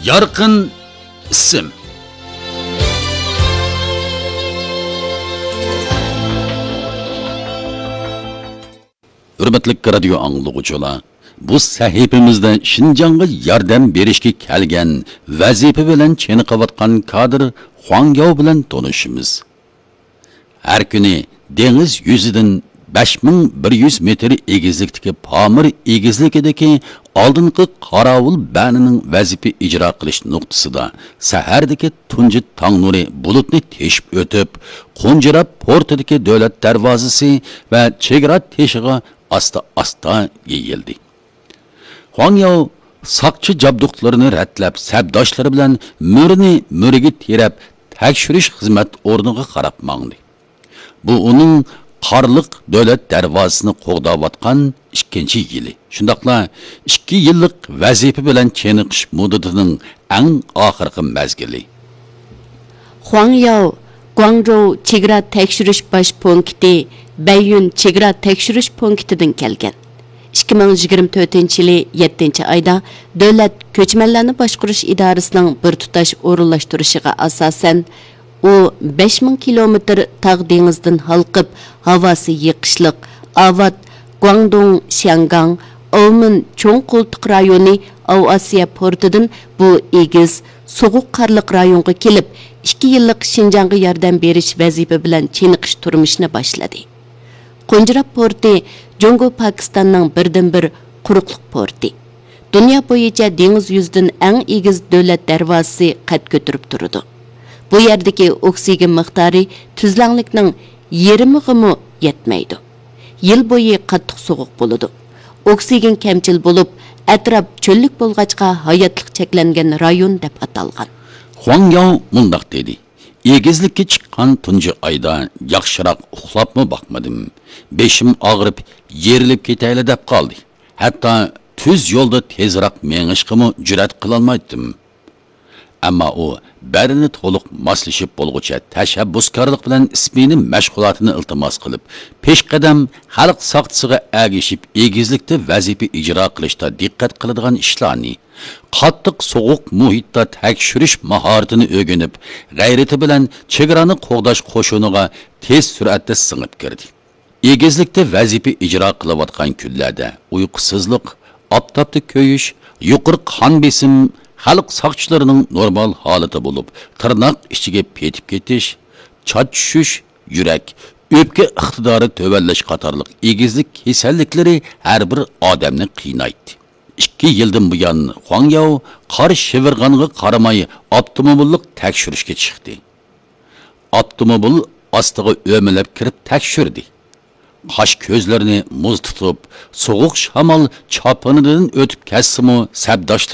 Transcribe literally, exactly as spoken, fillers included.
يارقىن ئىسىم. ھۆرمەتلىك رادىيو ئاڭلىغۇچىلار، بۇ سەھىپىمىزدە شىنجاڭغا ياردەم بېرىشكە كەلگەن، ۋەزىپە بىلەن چېنىقىۋاتقان كادىر خۇاڭ ياۋ بىلەن تونۇشىمىز. ھەر كۈنى دېڭىز يۈزىدىن بەش مىڭ بىر يۈز مېتىر ئېگىزلىكتىكى پامىر ئېگىزلىكىدىكى ئالدىنقى قاراۋۇل بەنىنىڭ ۋەزىپە ئىجرا قىلىش نۇقتىسىدا سەھەردىكى تۇنجى تاڭ نۇرى بۇلۇتنى تېشىپ ئۆتۈپ، قونجىرا پورتىدىكى دۆلەت دەرۋازىسى ۋە چېگرا تېشىغا ئاستا-ئاستا يېيىلدى. خۇاڭ ياۋ ساقچى جابدۇقلىرىنى رەتلەپ، سەپداشلىرى بىلەن مۈرىنى مۈرىگە تىرەپ، تەكشۈرۈش خىزمەت ئورنىغا قاراپ ماڭدى. بۇ ئۇنىڭ قارلىق دۆلەت دەرۋازىسىنى قوغداۋاتقان ئىككىنچى يىلى. شۇنداقلا ئىككى يىللىق ۋەزىپە بىلەن چېنىقىش مۇددىتىنىڭ ئەڭ ئاخىرقى مەزگىلى. خۇاڭ ياۋ گۇاڭجوۋ چېگرا تەكشۈرۈش باش پونكىتى، بەييۈن چېگرا تەكشۈرۈش پونكىتىدىن كەلگەن. ئىككى مىڭ يىگىرمە تۆتىنچى يىلى يەتتىنچى ئايدا دۆلەت كۆچمەنلەرنى باشقۇرۇش ئىدارىسىنىڭ بىر تۇتاش ئورۇنلاشتۇرۇشىغا ئاساسەن، ئۇ بەش مىڭ كىلومېتىر تاغ دېڭىزدىن ھالقىپ، ھاۋاسى يېقىشلىق، ئاۋات گۇاڭدۇڭ شياڭگاڭ ئاۋمېن چوڭ قولتۇق رايونى ئاۋىئاتسىيە پورتىدىن بۇ ئېگىز، سوغۇق قارلىق رايونغا كېلىپ، ئىككى يىللىق شىنجاڭغا ياردەم بېرىش ۋەزىپە بىلەن چېنىقىش تۇرمۇشىنى باشلىدى. قونجىرا پورتى جۇڭگو پاكىستاننىڭ بىردىنبىر قۇرۇقلۇق پورتى. دۇنيا بويىچە دېڭىز يۈزىدىن ئەڭ ئېگىز دۆلەت دەرۋازىسى قەد كۆتۈرۈپ تۇرىدۇ. بۇ يەردىكى ئوكسىگېن مىقدارى تۈزلەڭلىكنىڭ يېرىمىغىمۇ يەتمەيدۇ. يىل بويى قاتتىق سوغۇق بولىدۇ. ئوكسىگېن كەمچىل بولۇپ، ئەتراپ چۆللۈك بولغاچقا، ھاياتلىق چەكلەنگەن رايون دەپ ئاتالغان. خۇاڭ ياۋ مۇنداق دېدى: ئېگىزلىككە چىققان تۇنجى ئايدا ياخشىراق ئۇخلاپمۇ باقمىدىم. بېشىم ئاغرىپ، يېرىلىپ كېتەيلى دەپ قالدى. ھەتتا تۈز يولدا تېزراق مېڭىشقىمۇ جۈرئەت قىلالمايتتىم. ئەمما ئۇ بەرىنى تولۇق ماسلىشىپ بولغۇچە تەشەببۇسكارلىق بىلەن ئىسمىنىم مەشغۇلاتىنى ئىلتىماس قىلىپ، پېشقەدەم خەلق ساقچىسىغا ئەگىشىپ، ئېگىزلىكتە ۋەزىپە ئىجرا قىلىشتا دىققەت قىلىدىغان ئىشلارنى، قاتتىق سوغۇق مۇھىتتا تەكشۈرۈش ماھارىتىنى ئۆگىنىپ، غەيرىتى بىلەن چېگرانى قوغداش قوشۇنىغا تېز سۈرئەتتە سىڭىپ كىردى. ئېگىزلىكتە ۋەزىپە ئىجرا قىلىۋاتقان كۈنلەردە ئۇيقۇسىزلىق، ئاپتاپتا كۆيۈش، يۇقىرى قان بېسىم، خەلق ساقچىلىرىنىڭ نورمال ھالىتى بولۇپ، تىرناق ئىچىگە پېتىپ كېتىش، چاچ چۈشۈش، يۈرەك، ئۆپكە ئىقتىدارى تۆۋەنلەش قاتارلىق ئېگىزلىك كېسەللىكلىرى ھەر بىر ئادەمنى قىينايتتى. ئىككى يىلدىن بۇيان خۇاڭ ياۋ قار شىۋىرغانغا قارىماي ئاپتوموبىللىق تەكشۈرۈشكە چىقتى. ئاپتوموبىل ئاستىغا ئۆمىلەپ كىرىپ تەكشۈردى. قاش-كۆزلىرىنى مۇز تۇتۇپ، سوغۇق شامال چاپىنىدىن ئۆتۈپ كەتسىمۇ، سەپداشلىرى